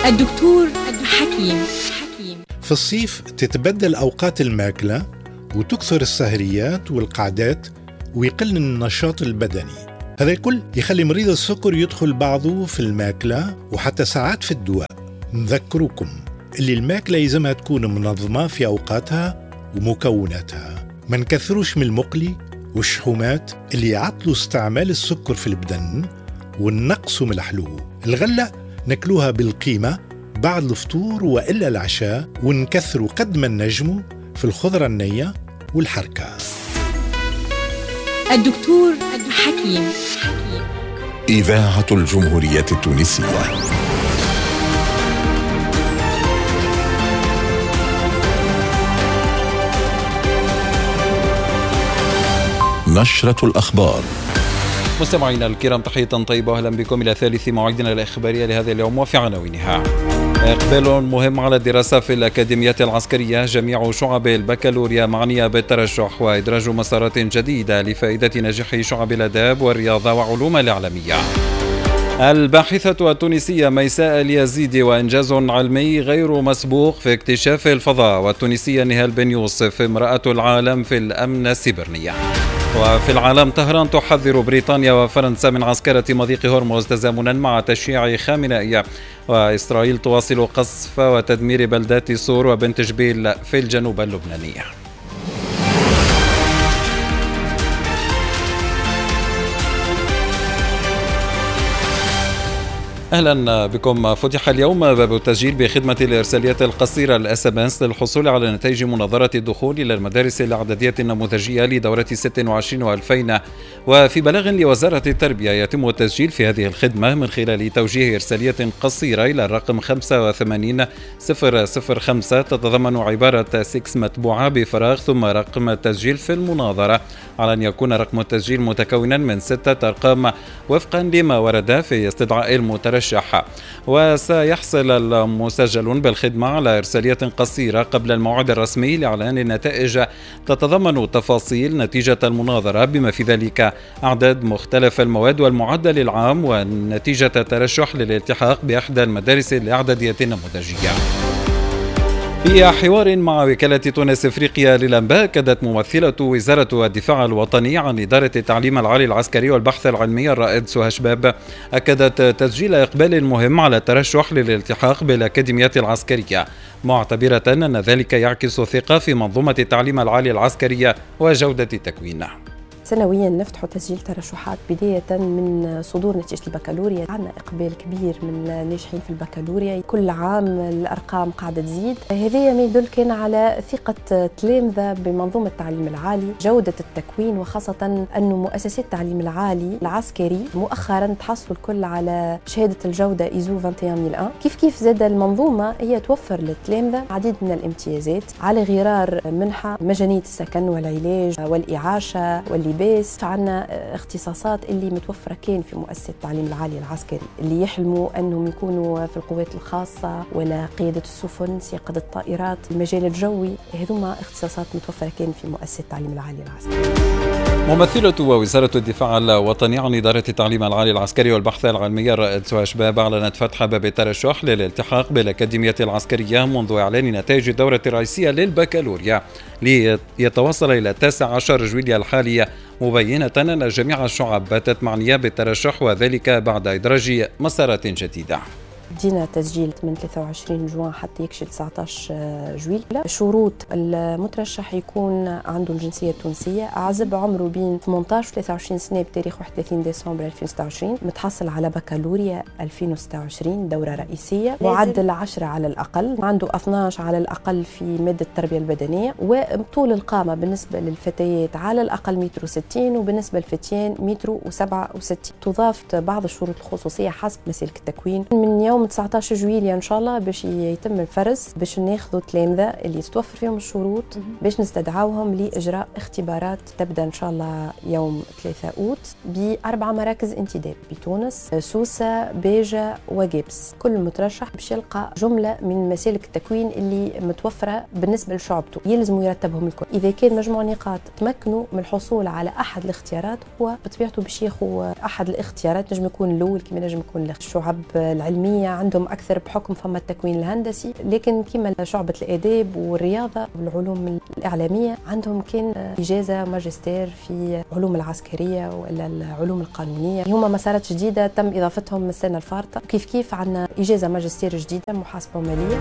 الدكتور حكيم. في الصيف تتبدل أوقات الماكلة وتكثر السهريات والقعدات ويقل النشاط البدني. هذا الكل يخلي مريض السكر يدخل بعضه في الماكلة وحتى ساعات في الدواء. نذكركم اللي الماكلة يلزمها تكون منظمة في أوقاتها ومكوناتها، ما نكثروش من المقلي والشحومات اللي يعطلوا استعمال السكر في البدن، ونقصوا من الحلو. الغلة ناكلوها بالقيمة بعد الفطور وإلا العشاء، ونكثروا قد ما نجموا في الخضرة النية والحركة. الدكتور حكيم. إذاعة الجمهورية التونسية. نشرة الأخبار. مستمعينا الكرام، تحية طيبة وأهلا بكم إلى ثالث موعدنا الإخبارية لهذا اليوم وفي عناوينها: إقبال مهم على الدراسة في الأكاديميات العسكرية، جميع شعب البكالوريا معنية بالترشح، وإدراج مسارات جديدة لفائدة ناجحي شعب الآداب والرياضة وعلوم الإعلامية. الباحثة التونسية ميساء اليزيدي وإنجاز علمي غير مسبوق في اكتشاف الفضاء، والتونسية نهال بن يوسف امرأة العالم في الأمن السيبرني. وفي العالم، طهران تحذر بريطانيا وفرنسا من عسكرة مضيق هرمز تزامنا مع تشييع خامنئي، وإسرائيل تواصل قصف وتدمير بلدات صور وبنت جبيل في الجنوب اللبناني. أهلا بكم. فتح اليوم باب التسجيل بخدمة الإرساليات القصيرة ال SMS للحصول على نتائج مناظرة الدخول إلى المدارس الإعدادية النموذجية لدورة 26 و2000. وفي بلاغ لوزارة التربية، يتم التسجيل في هذه الخدمة من خلال توجيه إرسالية قصيرة إلى الرقم 85005 تتضمن عبارة 6 متبوعة بفراغ ثم رقم التسجيل في المناظرة، على أن يكون رقم التسجيل متكونا من 6 أرقام وفقا لما ورد في استدعاء المترشح. وسيحصل المسجلون بالخدمة على إرسالية قصيرة قبل الموعد الرسمي لإعلان النتائج تتضمن تفاصيل نتيجة المناظرة بما في ذلك أعداد مختلف المواد والمعدل العام ونتيجة الترشح للالتحاق بإحدى المدارس الإعدادية النموذجية. في حوار مع وكالة تونس افريقيا للانباء، اكدت ممثلة وزارة الدفاع الوطني عن إدارة التعليم العالي العسكري والبحث العلمي الرائد سهى شباب، اكدت تسجيل اقبال مهم على الترشح للالتحاق بالاكاديميات العسكرية، معتبرة ان ذلك يعكس ثقة في منظومة التعليم العالي العسكرية وجودة التكوين. سنويا نفتح تسجيل ترشحات بداية من صدور نتيجة البكالوريا. عندنا إقبال كبير من الناجحين في البكالوريا، كل عام الأرقام قاعدة تزيد. هذا ما يدل كان على ثقة تلامذة بمنظومة التعليم العالي، جودة التكوين، وخاصة أن مؤسسات التعليم العالي العسكري مؤخرا تحصلوا الكل على شهادة الجودة إيزو 21001. كيف زاد المنظومة هي توفر للتلامذة عديد من الامتيازات على غرار منحة مجانية السكن والعلاج والإعاشة واللباس. عندنا اختصاصات اللي متوفرة كان في مؤسسة التعليم العالي العسكري، اللي يحلموا أنهم يكونوا في القوات الخاصة ولا قيادة السفن، سياقة الطائرات، المجال الجوي، هذوما اختصاصات متوفرة كان في مؤسسة التعليم العالي العسكري. ممثلة وزارة الدفاع الوطني عن إدارة التعليم العالي العسكري والبحث العلمي الرائد سهى شباب أعلنت فتح باب الترشح للالتحاق بالأكاديمية العسكرية منذ إعلان نتائج الدورة الرئيسية للبكالوريا ليتواصل إلى 19 جويلية الحالية، مبينة أن جميع الشعب باتت معنية بالترشح وذلك بعد إدراج مسارات جديدة. بدينا تسجيل من 23 جوان حتى يكشف 19 جويلية. شروط المترشح يكون عنده الجنسية التونسية، عزب، عمره بين 18 و 23 سنة بتاريخ 31 ديسمبر 2026، متحصل على بكالوريا 2026 دورة رئيسية، معدل 10 على الأقل، عنده 12 على الأقل في مادة التربية البدنية، وطول القامة بالنسبة للفتيات على الأقل 1.60 متر وبالنسبة للفتيان 1.67 متر. تضاف بعض الشروط الخصوصية حسب مسالك التكوين. من يوم 19 جويلية إن شاء الله باش يتم الفرز، باش ناخذوا تلامذة اللي تتوفر فيهم الشروط باش نستدعوهم لإجراء اختبارات تبدأ إن شاء الله يوم 3 أوت ب4 مراكز انتداب بتونس، سوسة، باجة وجبس. كل مترشح باش يلقى جملة من مسالك التكوين اللي متوفرة بالنسبة لشعبته، يلزم يرتبهم الكل. إذا كان مجموع نقاط تمكنوا من الحصول على أحد الاختيارات، هو بطبيعته باش ياخذ أحد الاختيارات، نجم يكون الأول كما نجم يكون الشعب العلمية التقنية عندهم أكثر بحكم فما التكوين الهندسي، لكن كما شعبة الآداب والرياضة والعلوم الإعلامية عندهم كان إجازة ماجستير في علوم العسكرية ولا العلوم القانونية. هما مسارات جديدة تم إضافتهم من السنة الفارطة. كيف كيف عندنا إجازة ماجستير جديدة محاسبة مالية.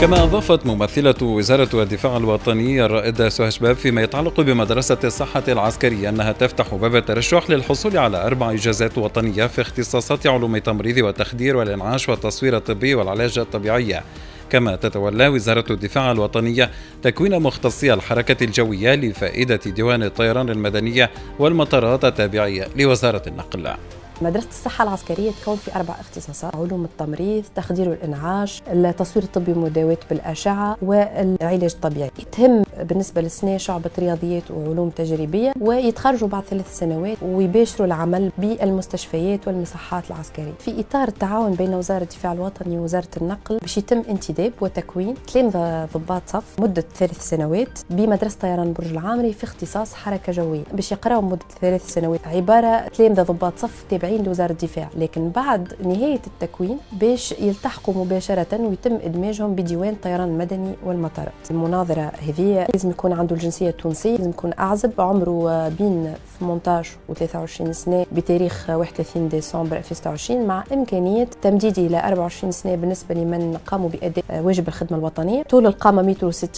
كما أضافت ممثلة وزارة الدفاع الوطني الرائدة سهى شباب فيما يتعلق بمدرسة الصحة العسكرية أنها تفتح باب الترشح للحصول على 4 إجازات وطنية في اختصاصات علوم التمريض والتخدير والإنعاش والتصوير الطبي والعلاج الطبيعي. كما تتولى وزارة الدفاع الوطنية تكوين مختصي الحركة الجوية لفائدة ديوان الطيران المدنية والمطارات التابعية لوزارة النقل. مدرسة الصحة العسكرية تكون في 4 اختصاصات: علوم التمريض، تخدير والإنعاش، التصوير الطبي والمداواة بالأشعة، والعلاج الطبيعي. تهم بالنسبة للسنة شعبة رياضيات وعلوم تجريبية، ويتخرجوا بعد 3 سنوات ويباشروا العمل بالمستشفيات والمصحات العسكرية. في إطار التعاون بين وزارة الدفاع الوطني ووزارة النقل باش يتم انتداب وتكوين تلامذة ضباط صف مدة 3 سنوات بمدرسة طيران برج العامري في اختصاص حركة جوية، باش يقراوا مدة 3 سنوات عبارة تلامذة ضباط صف تابعين لوزارة الدفاع، لكن بعد نهاية التكوين باش يلتحقوا مباشرة ويتم إدماجهم بديوان الطيران المدني والمطارات. المناظرة هذه لازم يكون عنده الجنسية التونسية، لازم يكون أعزب، عمره بين 18 و 23 سنة بتاريخ 31 ديسمبر 2026، مع إمكانية تمديده إلى 24 سنة بالنسبة لمن قاموا بأداء واجب الخدمة الوطنية. طول القامة 1.60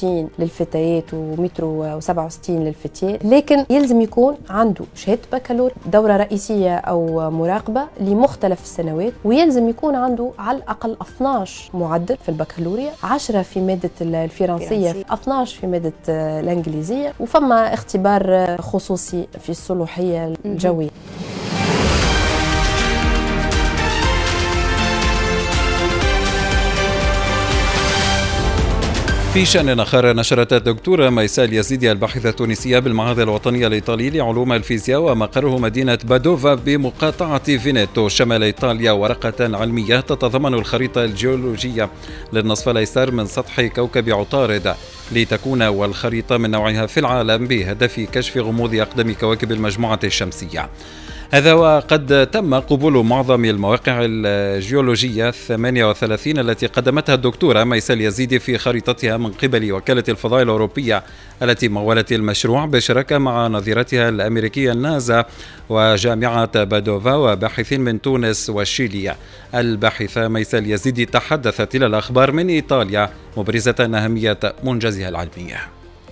متر للفتيات و1.67 متر للفتيات، لكن يلزم يكون عنده شهادة بكالوريا، دورة رئيسية أو مراقبة لمختلف السنوات، ويلزم يكون عنده على الأقل 12 معدل في البكالوريا، 10 في مادة الفرنسية، 12 في مادة الإنجليزية، وفما اختبار خصوصي في الصلاحية الجوية. في شأن آخر، نشرت الدكتورة ميساء اليزيدي الباحثة التونسية بالمعهد الوطني الإيطالي لعلوم الفيزياء ومقره مدينة بادوفا بمقاطعة فينيتو شمال إيطاليا ورقة علمية تتضمن الخريطة الجيولوجية للنصف الأيسر من سطح كوكب عطارد، لتكون والخريطة من نوعها في العالم بهدف كشف غموض أقدم كواكب المجموعة الشمسية. هذا وقد تم قبول معظم المواقع الجيولوجية 38 التي قدمتها الدكتورة ميساء اليزيدي في خريطتها من قبل وكالة الفضاء الأوروبية التي مولت المشروع بشراكة مع نظيرتها الأمريكية النازا وجامعة بادوفا وباحثين من تونس وشيلي. الباحثة ميساء اليزيدي تحدثت إلى الأخبار من إيطاليا مبرزة أهمية منجزها العلمية.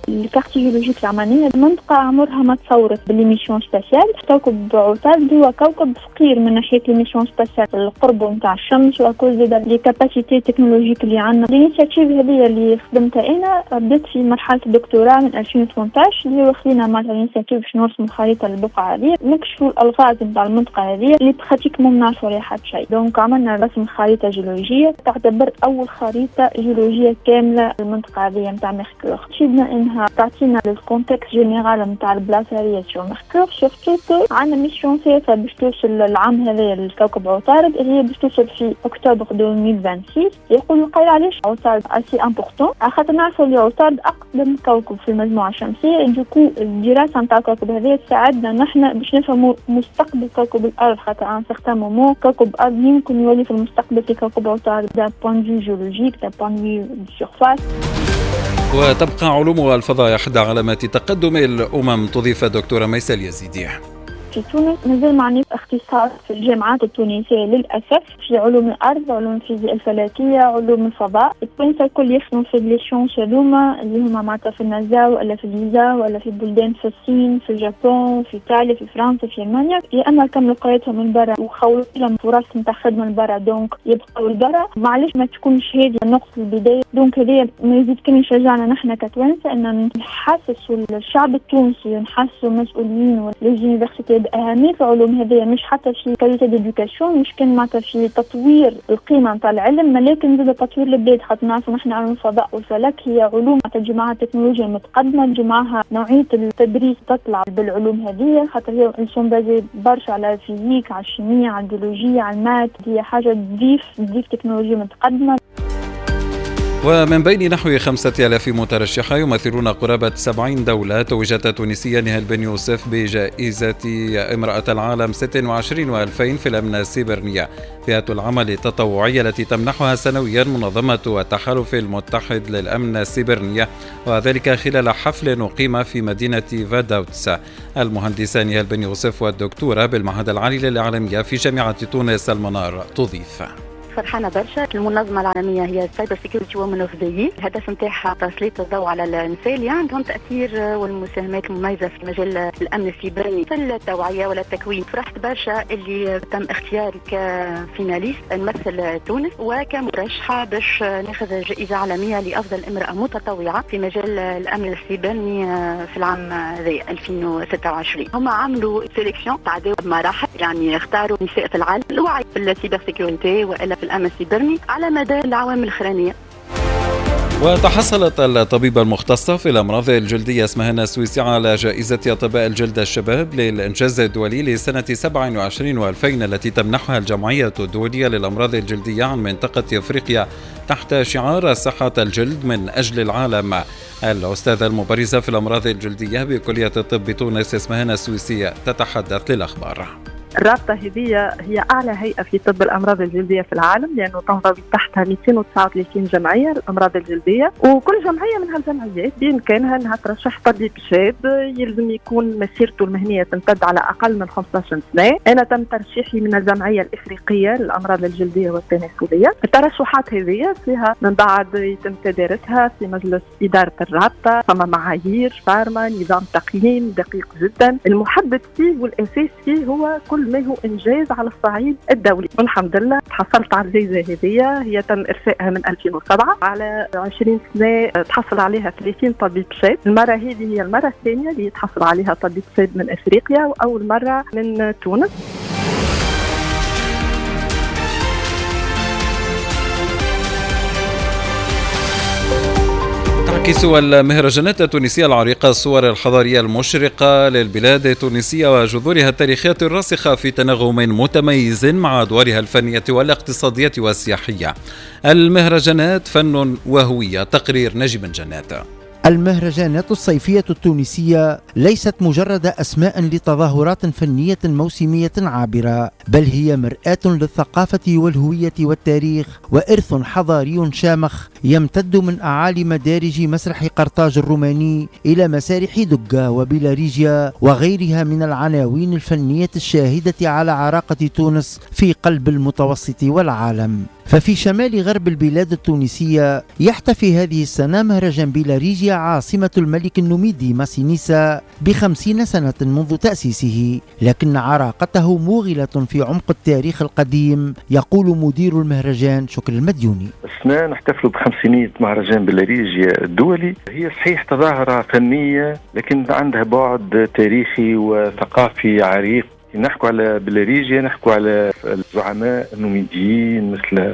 ال carte géologique العمانية منطقة عمرها ما تصورت ب les missions spatiales. كوكب عطارد هو كوكب فقير من ناحية les missions spatiales، القرب نتاع الشمس وكل زاد les capacités technologiques اللي عندنا. l'initiative هذه اللي خدمتها انا بدات في مرحلة الدكتوراه من 2018، اللي هو خلينا معناتها l'initiative باش نرسموا خريطة للبقعة هذه، نكشفوا الالغاز نتاع المنطقة هذه اللي pratiquement ما نعرفوا عليها حتى شيء. donc عملنا رسم خريطة جيولوجيه تعتبر اول خريطة جيولوجيه كاملة للمنطقة هذه نتاع Mercure. تفيدنا انها تعطينا ال contexte général نتاع البلاصة هذه sur Mercure، surtout que عندنا mission ثالثة باش توصل العام هذا لكوكب عطارد اللي هي باش توصل في اكتوبر 2026. يقول القائل علاش عطارد assez important؟ خاطر نعرفوا اللي عطارد اقدم كوكب في المجموعة الشمسية، du coup الدراسة نتاع الكوكب هذا تساعدنا نحن باش نفهموا مستقبل كوكب الارض، خاطر à un certain moment كوكب الارض يمكن يولي في المستقبل في كوكب عطارد d'un point de vue géologique، d'un point de vue surface. وتبقى علوم الفضاء إحدى علامات تقدم الأمم، تضيف الدكتورة ميساء اليزيدي. في تونس مازال معني اختصاص في الجامعات التونسية للأسف في علوم الأرض، علوم الفيزياء الفلكية، علوم الفضاء. التوانسة الكل يخدموا في les sciences هذوما اللي هما معناتها في النازا ولا في l'ESA ولا في بلدان، في الصين، في اليابان، في إيطاليا، في فرنسا، في ألمانيا، يا إما كملوا قرايتهم من برا وخولوا لهم فرص نتاع خدمة من برا donc يبقوا لبرا. معليش ما تكونش هذه نقطة البداية. donc هذه ما يزيد كان يشجعنا نحن كتوانسة أن نحسسوا الشعب التونسي ونحسسوا المسؤولين و les universités بأهمية العلوم هذه، مش حتى في qualité d'éducation، مش كان معناتها في تطوير القيمة نتاع العلم، لكن زاد تطوير البلاد. خاطر نعرفوا نحن علوم الفضاء والفلك هي علوم معناتها تجي معها التكنولوجيا المتقدمة، تجي معها نوعية التدريس تطلع بالعلوم هذه، خاطر هي sont basées برشا على ال physique، على ال chimie، على البيولوجيا، على ال maths. هي حاجة تضيف تكنولوجيا متقدمة. ومن بين نحو 5000 مترشحة يمثلون قرابة 70 دولة، توجت التونسية نهال بن يوسف بجائزة امرأة العالم 26 و2000 في الأمن السيبرنية، فئة العمل التطوعية التي تمنحها سنويا منظمة التحالف المتحد للأمن السيبرنية، وذلك خلال حفل أقيم في مدينة فاداوتس. المهندسة نهال بن يوسف والدكتورة بالمعهد العالي للإعلامية في جامعة تونس المنار تضيف: فرحانة برشا. المنظمة العالمية هي Cyber Security Women of the Year، الهدف نتاعها تسليط الضوء على النساء اللي عندهم تأثير والمساهمات المميزة في مجال الأمن السيبراني في التوعية ولا التكوين. فرحت برشا اللي تم اختياري ك finaliste نمثل تونس وكمرشحة باش ناخذ جائزة عالمية لأفضل امرأة متطوعة في مجال الأمن السيبراني في العام ذي 2026. هم عملوا sélection، تعداو بمراحل، يعني اختاروا نساء في العالم الوعي في ال cybersécurité وإلا في الأمن السيبرني على مدى العوامل الأخرانية. وتحصلت الطبيبة المختصة في الأمراض الجلدية اسمهان السويسي على جائزة أطباء الجلد الشباب للإنجاز الدولي لسنة 27 و2000 التي تمنحها الجمعية الدولية للأمراض الجلدية عن منطقة أفريقيا تحت شعار صحة الجلد من أجل العالم. الأستاذة المبرزة في الأمراض الجلدية بكلية الطب تونس اسمهان السويسي تتحدث للأخبار. الرابطة هذه هي أعلى هيئة في طب الأمراض الجلدية في العالم، لأنه تنضوي تحتها 239 جمعية للأمراض الجلدية، وكل جمعية من هالجمعيات بإمكانها أنها ترشح طبيب شاب يلزم يكون مسيرته المهنية تمتد على أقل من 15 سنة. أنا تم ترشيحي من الجمعية الإفريقية للأمراض الجلدية والتناسلية. الترشحات هذه فيها من بعد يتم تدارسها في مجلس إدارة الرابطة، فما معايير فارما، نظام تقييم دقيق جدا، المحدد فيه والأساس فيه هو كل ما هو إنجاز على الصعيد الدولي. والحمد لله تحصلت على الجائزة هذه، هي تم إرسائها من 2007 على 20 سنة تحصل عليها 30 طبيب شاب. المرة هذه هي المرة الثانية اللي تحصل عليها طبيب شاب من أفريقيا وأول مرة من تونس. تعكس المهرجانات التونسية العريقة الصور الحضارية المشرقة للبلاد التونسية وجذورها التاريخية الراسخة في تناغم متميز مع أدوارها الفنية والاقتصادية والسياحية. المهرجانات فن وهوية. تقرير نجم جنات. المهرجانات الصيفية التونسية ليست مجرد أسماء لتظاهرات فنية موسمية عابرة، بل هي مرآة للثقافة والهوية والتاريخ، وإرث حضاري شامخ يمتد من أعالي مدارج مسرح قرطاج الروماني إلى مسارح دقة وبلاريجيا وغيرها من العناوين الفنية الشاهدة على عراقة تونس في قلب المتوسط والعالم. ففي شمال غرب البلاد التونسية يحتفي هذه السنة مهرجان بلاريجيا عاصمة الملك النوميدي ماسينيسا ب50 سنة منذ تأسيسه، لكن عراقته موغلة في عمق التاريخ القديم، يقول مدير المهرجان شكر المديوني. السنة نحتفل ب50 مهرجان بلاريجيا الدولي. هي صحيح تظاهرة فنية لكن عندها بعد تاريخي وثقافي عريق. نحكوا على بلاريجيا، نحكوا على الزعماء النوميديين مثل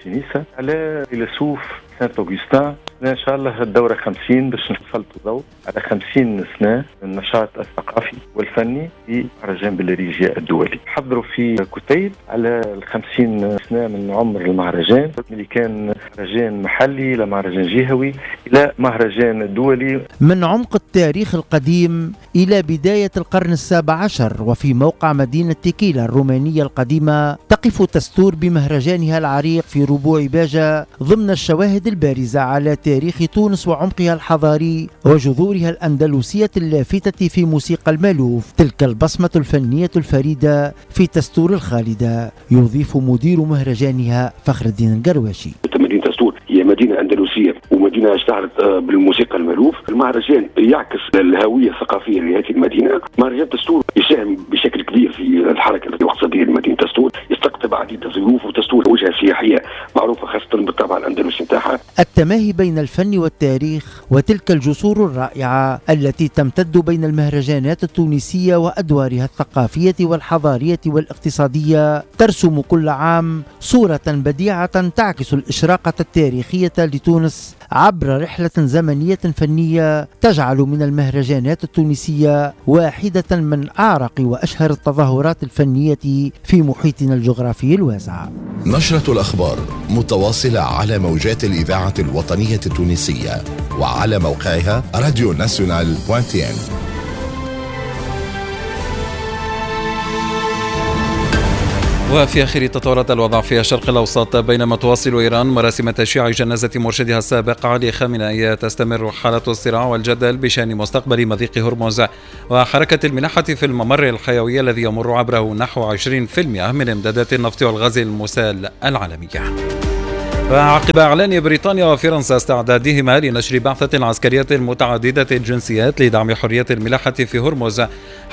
سينيسا، على فيلسوف سانت أوغستان. إن شاء الله الدورة 50 باش نسلطوا الضوء على 50 سنة من النشاط الثقافي والفني في مهرجان بلاريجيا الدولي. حضروا في كتيب على 50 سنة من عمر المهرجان، اللي كان مهرجان محلي لمهرجان جهوي إلى مهرجان دولي. من عمق التاريخ القديم إلى بداية القرن السابع عشر، وفي موقع مدينة تيكيلا الرومانية القديمة تقف تستور بمهرجانها العريق في ربوع باجة ضمن الشواهد البارزة على تاريخ تونس وعمقها الحضاري وجذورها الأندلسية اللافتة في موسيقى المالوف، تلك البصمة الفنية الفريدة في تستور الخالدة، يضيف مدير مهرجانها فخر الدين القرواشي. مدينة تستور هي مدينة أندلسية ومدينة اشتهرت بالموسيقى المالوف. المهرجان يعكس الهوية الثقافية لهذه المدينة. مهرجان تستور يساهم بشكل كبير في الحركة الاقتصادية لمدينة تستور، يستقطب عديد الضيوف، وتستور وجهة سياحية معروفة خاصة بالطابع الأندلسي نتاعها. التماهي بين الفن والتاريخ وتلك الجسور الرائعة التي تمتد بين المهرجانات التونسية وأدوارها الثقافية والحضارية والاقتصادية ترسم كل عام صورة بديعة تعكس الإشراقة التاريخية لتونس تونس عبر رحلة زمنية فنية تجعل من المهرجانات التونسية واحدة من أعرق وأشهر التظاهرات الفنية في محيطنا الجغرافي الواسع. نشرة الأخبار متواصلة على موجات الإذاعة الوطنية التونسية وعلى موقعها radionational.tn. وفي آخر تطورات الوضع في الشرق الأوسط، بينما تواصل إيران مراسم تشييع جنازة مرشدها السابق علي خامنئي، تستمر حالة الصراع والجدل بشأن مستقبل مضيق هرمز وحركة الملاحة في الممر الحيوي الذي يمر عبره نحو 20% من إمدادات النفط والغاز المسال العالمية. وعقب إعلان بريطانيا وفرنسا استعدادهما لنشر بعثة عسكرية متعددة الجنسيات لدعم حرية الملاحة في هرمز،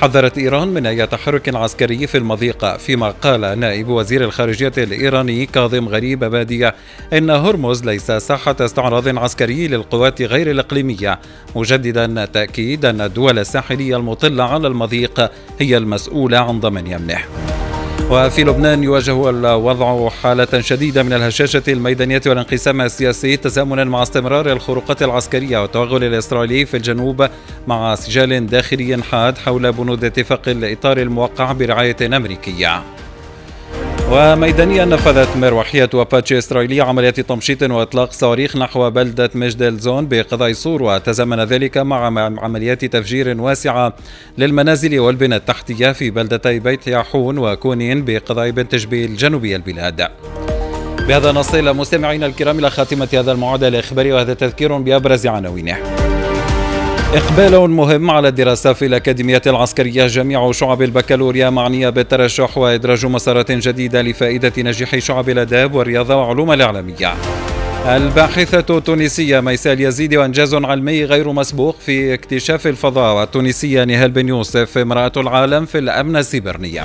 حذرت إيران من أي تحرك عسكري في المضيق، فيما قال نائب وزير الخارجية الإيراني كاظم غريب أبادي إن هرمز ليس ساحة استعراض عسكري للقوات غير الإقليمية، مجددا تأكيد أن الدول الساحلية المطلة على المضيق هي المسؤولة عن ضمان أمنه. وفي لبنان يواجه الوضع حالة شديدة من الهشاشة الميدانية والانقسام السياسي، تزامنا مع استمرار الخروقات العسكرية والتوغل الإسرائيلي في الجنوب، مع سجال داخلي حاد حول بنود اتفاق الإطار الموقع برعاية أمريكية. وميدانيا نفذت مروحية أباتشي إسرائيلية عمليات تمشيط وإطلاق صواريخ نحو بلدة مجدل زون بقضاء صور، وتزامن ذلك مع عمليات تفجير واسعة للمنازل والبنى التحتية في بلدتي بيت ياحون وكونين بقضاء بنت جبيل جنوبي البلاد. بهذا نصل مستمعينا الكرام إلى خاتمة هذا الموعد الإخباري، وهذا تذكير بأبرز عناوينه. إقبال مهم على الدراسة في الأكاديمية العسكرية، جميع شعب البكالوريا معنية بالترشح وإدراج مسارات جديدة لفائدة نجاح شعب الآداب والرياضة وعلوم الإعلامية. الباحثة التونسية ميساء اليزيدي وإنجاز علمي غير مسبوق في اكتشاف الفضاء، والتونسية نهال بن يوسف امرأة العالم في الأمن السيبرني.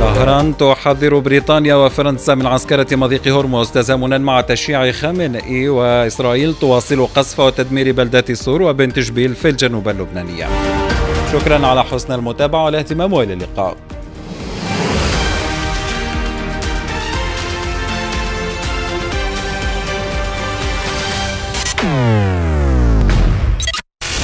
طهران تحذر بريطانيا وفرنسا من عسكرة مضيق هرمز تزامنا مع تشييع خامنئي، وإسرائيل تواصل قصف وتدمير بلدات صور وبنت جبيل في الجنوب اللبنانية. شكرا على حسن المتابعة والاهتمام، وإلى اللقاء.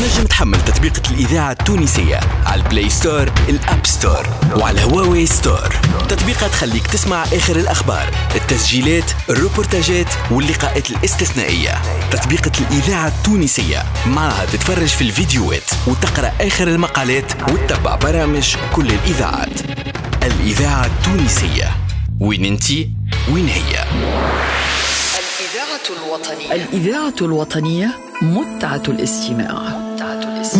تنجم تحمل تطبيقة الإذاعة التونسية على ال Play Store، ال App Store، وعلى Huawei Store. تطبيقة تخليك تسمع آخر الأخبار، التسجيلات، الروبورتاجات واللقاءات الاستثنائية. تطبيقة الإذاعة التونسية معها تتفرج في الفيديوهات وتقرأ آخر المقالات وتتبع برامج كل الإذاعات. الإذاعة التونسية، وين انتي وين هي. الإذاعة الوطنية، الإذاعة الوطنية متعة الاستماع.